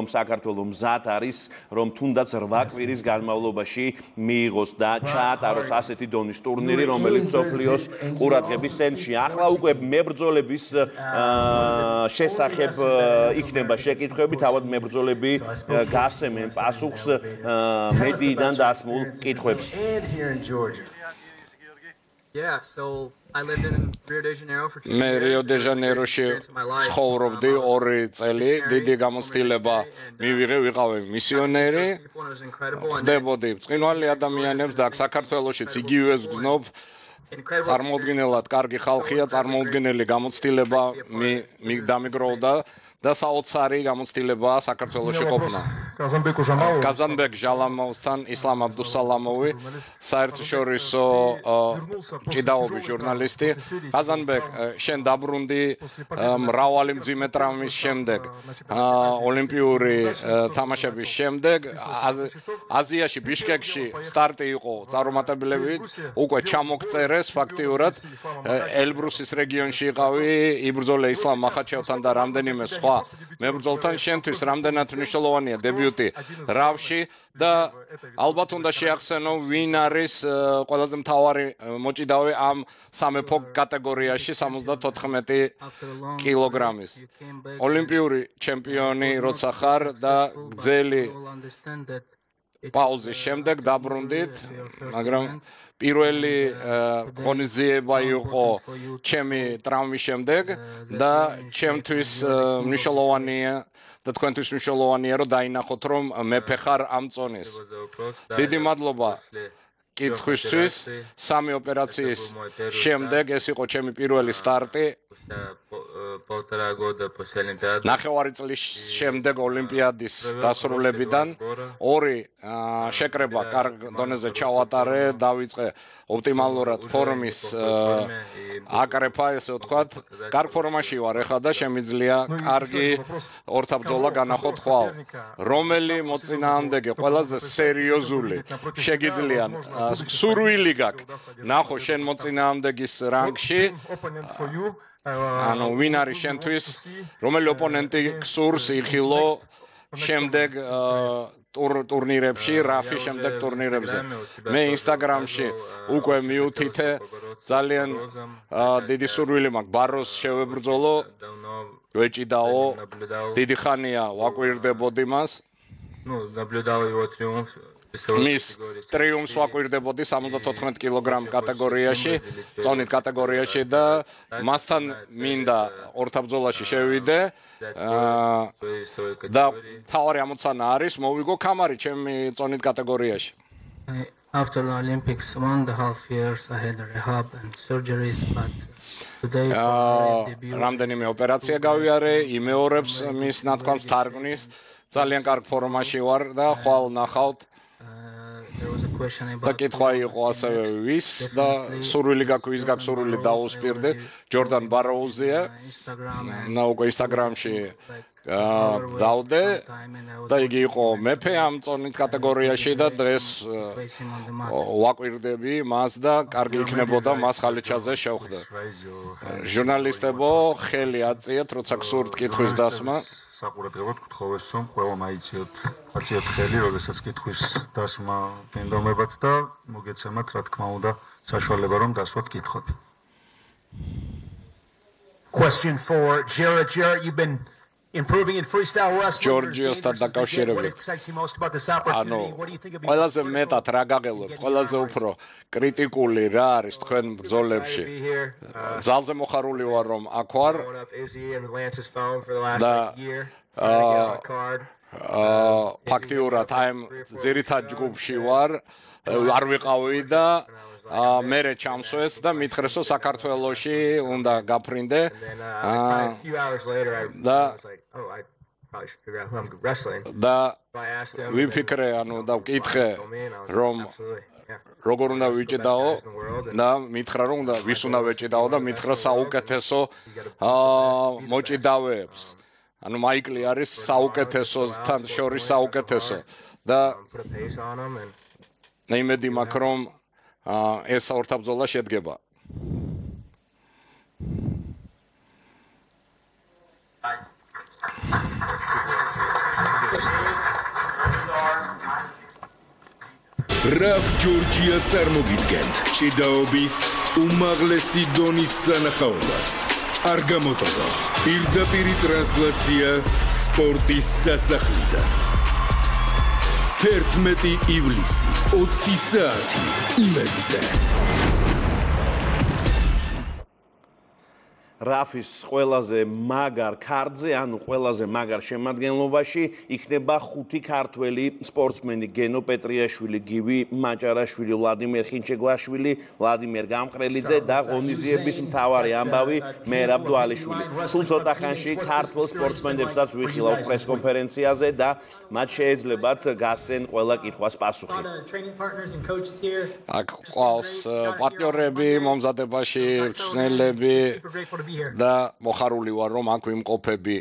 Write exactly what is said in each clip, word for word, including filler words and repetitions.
საქართველო მზად არის, რომ თუნდაც რვა კვირის განმავლობაში მიიღოს და ჩაატაროს ასეთი დონის ტურნირი, რომელიც მსოფლიოს ყურადღების ცენტრში. ახლა უკვე მებრძოლების შესახებ იქნება შეკითხვები, თავად მებრძოლები გასცემენ პასუხს მედიიდან დასმულ კითხვებს. Yeah, so I lived in Rio de Janeiro for two years. მე რიო დე ჟანეიროში ცხოვრობდი ორი წელი, დიდი გამოცდილება მივიღე, ვიყავი მისიონერი, ხდებოდი ბრწყინვალე ადამიანებს და საქართველოშიც იგივეს ვგზნობ. წარმოუდგენელად კარგი ხალხია, წარმოუდგენელი გამოცდილება დამიგროვდა და საოცარი გამოცდილება საქართველოში ყოფნა. Kazanbek ჟალამოვსთან ისლამ აბდუსალამოვი, საერთაშორისო ჭიდაობის ჟურნალისტი. Kazanbek, შენ დაბრუნდი მრავალი მძიმე ტრამვის შემდეგ, ოლიმპიური თამაშების შემდეგ, აზიაში, ბიშკეკში სტარტი იყო წარუმატებლივით, უკვე ჩამოგწერეს ფაქტიურად, ელბრუსის რეგიონში იყავი, იბრძოლე ისლამ მახაჩევთან და რამდენიმე სხვა მებრძოლთან, შენთვის რამდენად მნიშვნელოვანია დებიუტი რავში და ალბათ უნდა შეახსენო, ვინ არის ყველაზე მთავარი მოჭიდავე ამ სამეფო კატეგორიაში სამოცდათოთხმეტი კილოგრამის. ოლიმპიური ჩემპიონი როცა ხარ და გრძელი პაუზის შემდეგ დაბრუნდით, მაგრამ პირველი ღონისძიება იყო ჩემი ტრამვის შემდეგ და ჩემთვის მნიშვნელოვანია და თქვენთვის მნიშვნელოვანია რომ დაინახოთ რომ მეფე ხარ ამ წონის. დიდი მადლობა კითხვისთვის. სამი ოპერაციის შემდეგ ეს იყო ჩემი პირველი სტარტი. ნახევარი წლის შემდეგ ოლიმპიადის დასრულებიდან ორი შეკრება კარგ დონეზე ჩავატარე, დავიწყე ოპტიმალურად ფორმის აკრეფა, ესე ვთქვათ. კარგ ფორმაში ვარ ეხლა და შემიძლია კარგი ორთაბრძოლა განახოთ ხვალ. რომელი მოწინააღმდეგე ყველაზე სერიოზული შეგიძლია სურვილი გაქვს ნახო შენ მოწინააღმდეგის რანგში, ანუ ვინ არის შენთვის, რომელი ოპონენტი გსურს იხილო შემდეგ ტურნირებში, რაფი შემდეგ ტურნირებზე. მე ინსტაგრამში უკვე მიუთითე, ძალიან დიდი სურვილი მაქვს ბაროს შევებრძოლო, ვეჭიდაო, დიდი ხანია ვაკვირდებოდი მას. მის ტრიუმფს ვაკვირდებოდი სამოცდათოთხმეტ კილოგრამ კატეგორიაში, წონით კატეგორიაში და მასთან მინდა ორთაბრძოლაში შევიდე და თავარი ამოცანა არის მოვიგო კამარი ჩემი წონით კატეგორიაში. After the Olympics, one and a half years I had rehab and surgeries, but today რამდენიმე ოპერაცია გავიარე, იმეორებს მის ნათქვამს თარგმნის, ძალიან კარგ ფორმაში ვარ და ხვალ ნახავთ. და კითხვა იყო ასევე ვის და სურვილი გაქვს, ვის გაქვს სურვილი დაუსპირდე, ჯორდან ბაროუზია და უკვე ინსტაგრამში დავდე და იგი იყო მეფე ამ წონით კატეგორიაში და დღეს ვაკვირდები მას და კარგი იქნებოდა მას ხალიჩაზე შევხვდე. ჟურნალისტებო, ხელი აწიეთ, როცა გსურთ კითხვის დასმა. საყურადღებოდ გთხოვეს რომ ყველამ აიციოთ აწიოთ ხელი, როდესაც კითხვის დასმა გენდომებათ და მოგეცემათ რა თქმა უნდა საშუალება რომ დასვათ კითხვები. Question for Jared. Jared, you've been improving in freestyle wrestling. Georgiosთან დაკავშირებით. ანუ ყველაზე მეტად რა გაღელვებთ, ყველაზე უფრო კრიტიკული რა არის თქვენ ბრძოლებში. ძალზე მოხარული ვარ რომ აქ ვარ. და ფაქტიურად აი ძირითად ჯგუფში ვარ, არ ვიყავი და მერე ჩამსვეს და მითხრეს რომ საქართველოში უნდა გაფრინდე. და და ვიფიქრე, ანუ და ვკითხე რომ როგორ უნდა ვიჭიდაო და მითხრა რომ უნდა ვის უნდა ვეჭიდაო და მითხრა საუკეთესო მოჭიდავეებს. ანუ მაიკლი არის საუკეთესოთან შორის საუკეთესო და იმედი მაქვს რომ ეს ორთაბრძოლა შედგება. რაფ ჯორჯია წარმოგიდგენთ ჭიდაობის უმაღლესი დონის სანახაობას. არ გამოტოვო პირდაპირი ტრანსლაცია სპორტის სასახლიდან. თერთმეტი ივლისი ოცი საათი იმედზე. რაფის ყველაზე მაგარ ქარდზე, ანუ ყველაზე მაგარ შემადგენლობაში იქნება ხუთი ქართველი სპორტსმენი: გენო პეტრიაშვილი, გივი მაჭარაშვილი, ვლადიმერ ხინჩეგვაშვილი, ვლადიმერ გამყრელიძე და ღონისძიების მთავარი ამბავი მერაბ დვალიშვილი. სულ ცოტა ხანში ქართველ სპორტსმენებსაც ვიხილავთ პრესკონფერენციაზე და მათ შეეძლებათ გასცენ ყველა კითხვას პასუხი. აქ ყავს პარტნიორები მომზადებაში, მწვრთნელები და მოხარული ვარ რომ აქ ვიმყოფები.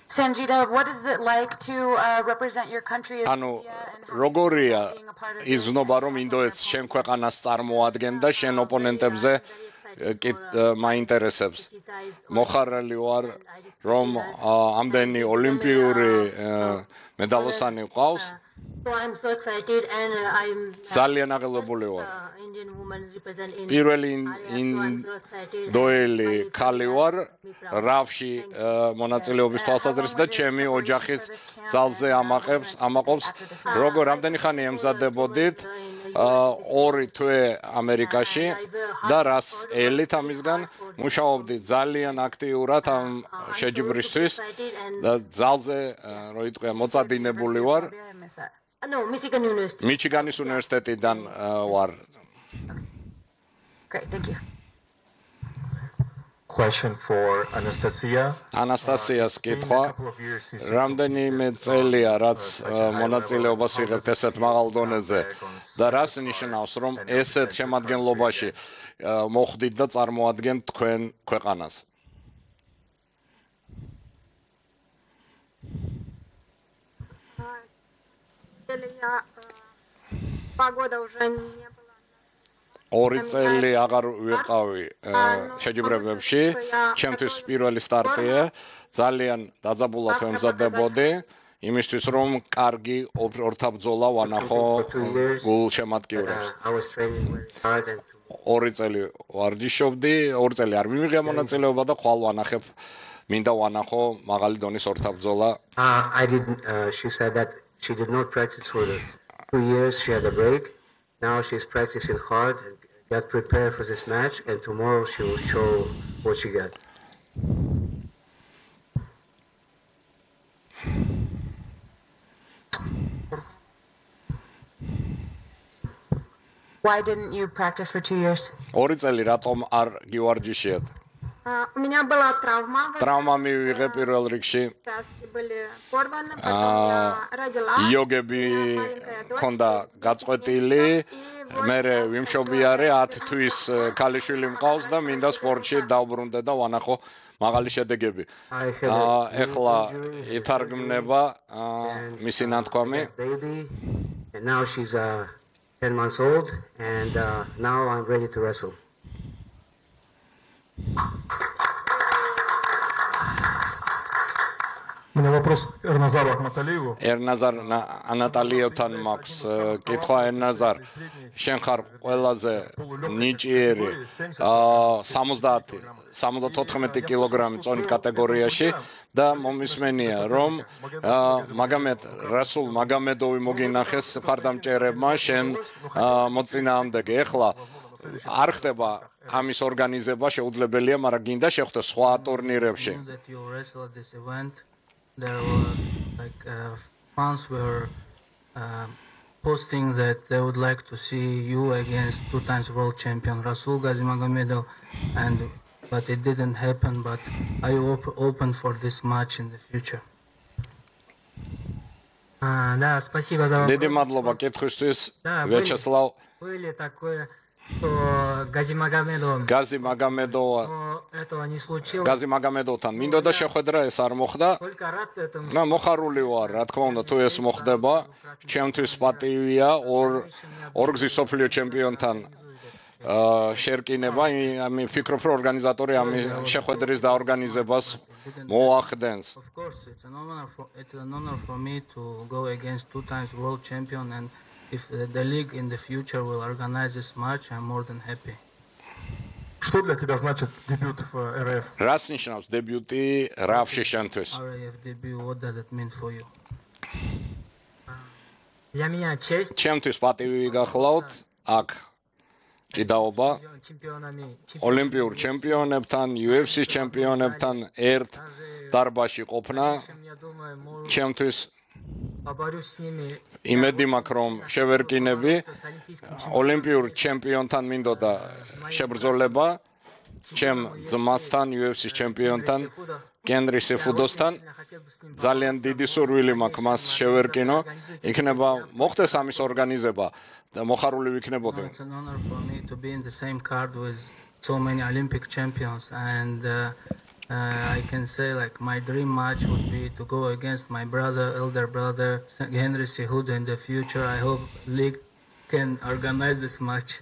Sanjita, what is it like to uh, represent your country? ანუ როგორია ის ზნობა რომ ინდოეთს შენ ქვეყანას წარმოადგენდა და შენ ოპონენტებზე მაინტერესებს. მოხარული ვარ რომ ამდენი ოლიმპიური მედალოსანი ყავს. So I'm so excited and uh, I'm ძალიან აღელვებული ვარ. uh, Indian women represent India. პირველი excited. ინდოელი ქალი ვარ რავში მონაწილეობის თვალსაზრისით და ჩემი ოჯახიც ძალზე ამაყებს ამაყობს. როგორ რამდენი ხანი ემზადებოდით? ორი თვე ამერიკაში და რას ელით ამისგან მუშაობდი ძალიან აქტიურად ამ შეჯიბრისთვის და ძალზე რო იტყვია მოწადინებული ვარ. No, Michigan University. მიჩიგანის უნივერსიტეტიდან ვარ. Great, thank you. Question for Anastasia. Anastasias კითხვა. რამდენიმე წელია რაც მონაწილეობას იღებთ ესეთ მაღალ დონეზე და რას ნიშნავს რომ ესეთ შემადგენლობაში მოხვდით და წარმოადგენთ თქვენ ქვეყანას? Погода уже не была. ორი წელი აღარ ვიყავი შეჯიბრებებში. ჩემთვის პირველი სტარტია. ძალიან დაძაბულად ვემზადებოდი იმისთვის რომ კარგი ორთაბრძოლა ვანახო გულშემატკივრებს. ორი წელი ვარჯიშობდი, ორი წელი არ მიმიღია მონაწილეობა და ხვალ ვანახებ მინდა ვანახო მაღალი დონის ორთაბრძოლა. I didn't uh, she said that she did not practice for the two years. She had a break. Now she's practicing hard and got prepared for this match, and tomorrow she will show what she got. Why didn't you practice for two years? ორი წელი რატომ არ გივარჯიშიათ? У меня была травма. Травма მივიღე პირველ რიგში. Связки были порваны, потом я родила. იოგები ქონდა გაწყვეტილი. მე ვიმშობიარე ათი თვის ქალიშვილი მყავს და მინდა სპორტში დავბრუნდე და ვანახო მაღალი შედეგები. ეხლა ითარგმნება მისი ნათქვამი. And now she's uh, ten months old, and uh, now I'm ready to wrestle. У меня вопрос Эрназару Ахматалиеву. ერნაზარ ანატალიევთან მაქვს კითხვა. ერნაზარ, შენ ხარ ყველაზე ნიჭიერი სამოცდაათი სამოცდათოთხმეტი კილოგრამი წონით კატეგორიაში და მომისმენია რომ მაგამედ რასულ მაგამედოვი მოგინახეს მხარდამჭერებმა შენ მოწინააღმდეგე. ეხლა არ ხდება ამის ორგანიზება შეუძლებელია, მაგრამ გინდა შეხვდე სხვა ტურნირებში. There was like uh, fans were uh, posting that they would like to see you against two times world champion Rasul Gazimagomedov, and but it didn't happen. But are you op- open for this match in the future? Uh, да, спасибо за вопрос. დიდი მადლობა კითხვისთვის, ვიაჩესლავ. Были такое, что Газимагомедов გაზი მაგამედოვა этого не случилось. გაზი მაგამედოვთან მინდოდა შეხვედრა, ეს არ მოხდა. Только рад этому. და მოხარული ვარ, რა თქმა უნდა, თუ ეს მოხდება, ჩემთვის პატივია ორ ორგზის სოფლიო ჩემპიონთან შერკინება, আমি ფიქრობ, რომ ორგანიზატორი ამ შეხვედრის დაორგანიზებას მოახდენს. Of course, it's an honor for it's an honor for me to go against two times world champion, and if the league in the future will organize this match, I'm more than happy. Что для тебя значит дебют в эр эф? Რას ნიშნავს დებიუტი რაფში შენთვის? эр эф debut, what does it mean for you? Для меня честь. ჩემთვის პატივი გახლავთ აქ ჭიდაობა ოლიმპიურ ჩემპიონებთან, იუ ეფ სი-ის ჩემპიონებთან ერთ დარბაზში ყოფნა. ჩემთვის იმედი მაქვს, რომ შევერკინები ოლიმპიურ ჩემპიონთან მინდოდა შებრძოლება, ჩემ ძმასთან, იუ ეფ სი-ის ჩემპიონთან, გენრი სეფუდოსთან. ძალიან დიდი სურვილი მაქვს მას შევერკინო. იქნება მოხდეს ამის ორგანიზება და მოხარული ვიქნებოდი. It's an honor for me to be in the same card with so many Olympic champions, and uh, uh, I can say like my dream match would be to go against my brother, elder brother, Henry Cejudo in the future. I hope league can organize this match.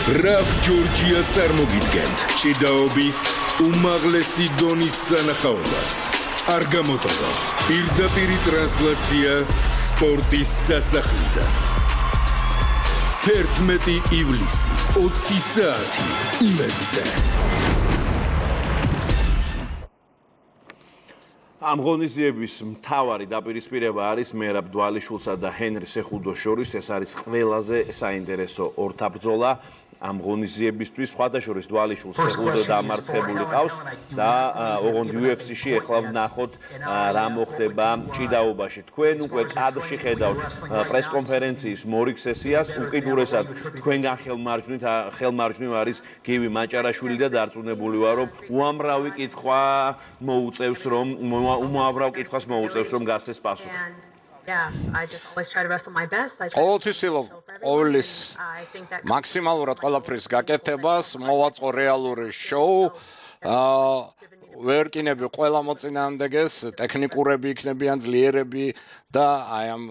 რაფ ჯორჯია წარმოგიდგენთ ჭიდაობის უმაღლესი დონის სანახაობას. არ გამოტოვო პირდაპირი ტრანსლაცია სპორტის სასახლიდან. თერთმეტი ივლისი, ოცი საათი იმედზე. ამ ღონისძიების მთავარი დაპირისპირება არის მერაბ დვალიშვილსა და ჰენრი სეხუდოს შორის. ეს არის ყველაზე საინტერესო ორთაბრძოლა ამ ღონისძიებისთვის. სხვადასხვა დვალიშვილს სეხუდო დამარცხებული ყავს და ოღონდ იუ ეფ სი-ში ეხლა ვნახოთ რა მოხდება ჭიდაობაში. თქვენ უკვე კადრში ხედავთ პრესკონფერენციის მორიგ სესიას. უკიდურესად თქვენგან ხელმარჯვნით ხელმარჯვნივ არის გივი მაჭარაშვილი და დარწმუნებული ვარ, რომ უამრავი კითხვა მოუწევს, რომ უმავრავ კითხვას მოუწევს, რომ გასცეს პასუხი. Yeah, I just always try to wrestle my best. I try ყოველთვის ვცდილობ ყოველის მაქსიმალურად ყველაფრის გაკეთებას, მოვაწყო რეალური შოუ. აა ვერკინები ყველა მოწინააღმდეგეს, ტექნიკურები იქნებიან, ძლიერები და აი ამ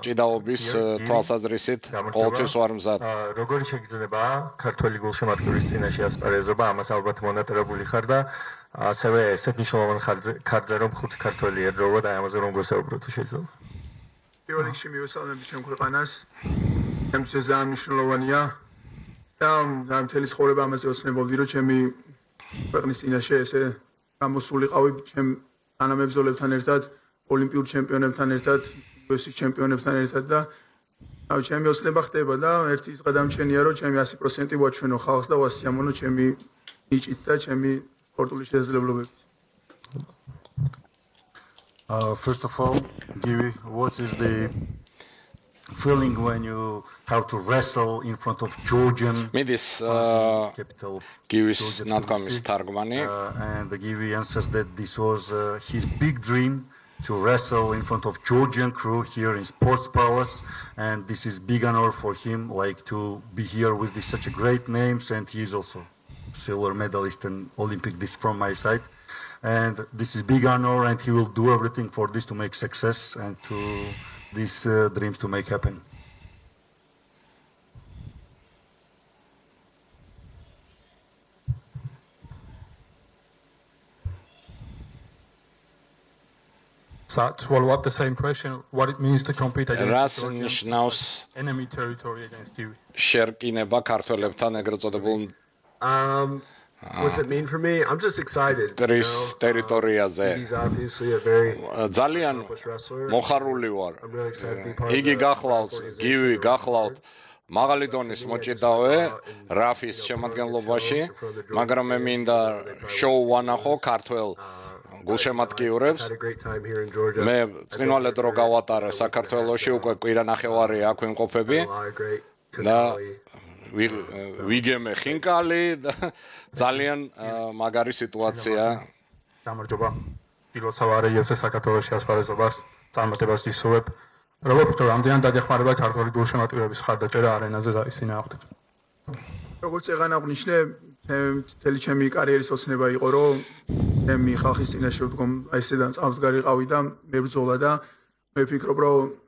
ჭიდაობის თვალსაზრისით ყოველთვის ვარ მზად. როგორი შეგიძლია ქართველი გულშემატკივრის წინაშე ასპარეზობა, ამას ალბათ მონატერებული ხარ და ასევე ესეთ მნიშვნელოვან ხარჯზე რომ ხუთი ქართველი ერდროვა და ამაზე რომ გოსაუბრო თუ შეიძლება. პირველ რიგში მივესალმები ჩემ ქვეყანას. ჩემთვის ძალიან მნიშვნელოვანია და ამ მთელი ცხოვრება ამაზე ოცნებობდი, რომ ჩემი ქვეყნის წინაშე ესე გამოსულიყავი ჩემ თანამებრძოლებთან ერთად, ოლიმპიურ ჩემპიონებთან ერთად, იუ ეფ სი-ის ჩემპიონებთან ერთად და აი ჩემი ოცნება ხდება და ერთი ის გადამჩენია, რომ ჩემი ასი პროცენტი ვაჩვენო ხალხს და ვასიამოვნო ჩემი ნიჭით და ჩემი სპორტული შესაძლებლობებით. Uh, first of all, Givi, what is the feeling when you have to wrestle in front of Georgian Midis capital? Givis ნათქვამის თარგმანი. And the Givi answers that this was uh, his big dream to wrestle in front of Georgian crew here in Sports Palace, and this is big honor for him, like to be here with this, such a great names, and he is also silver medalist and Olympic. This from my side. And this is big honor, and he will do everything for this to make success and to these uh, dreams to make happen. So to follow up the same question, what it means to compete against Georgians, enemy territory against you? შერკინება ქართველებთან ეგრეთ წოდებულ Um What's it mean for me? I'm just excited. Tris ტერიტორიაზე. He's obviously a very ძალიან მოხარული ვარ. იგი გახლავთ, გივი გახლავთ მაღალი დონის მოჭიდავე რაფის შემადგენლობაში, მაგრამ მე მინდა შოუ ვანახო ქართველ გულშემატკივრებს. მე წინვალედ რო გავატარე საქართველოში, უკვე კვირა ნახევარი აქ ვიმყოფები და ვიგემე ხინკალი და ძალიან მაგარი სიტუაცია. გამარჯობა. პირველსავარე იუ ეფ სი საქართველოში ასპარეზობას წარმატებას გისურვებ. როგორ ფიქრობ, რამდენად დაგეხმარება ქართული გულშემატკივრების ხარდაჭერა არენაზე ისინი აღდგეთ? როგორც ეგან აღნიშნე, მთელი ჩემი კარიერის ოცნება იყო, რომ ჩემი ხალხის წინაშე ვდგომ, აი ესედან წამსგარი ყავი და მებრძოლა და მე ვფიქრობ, რომ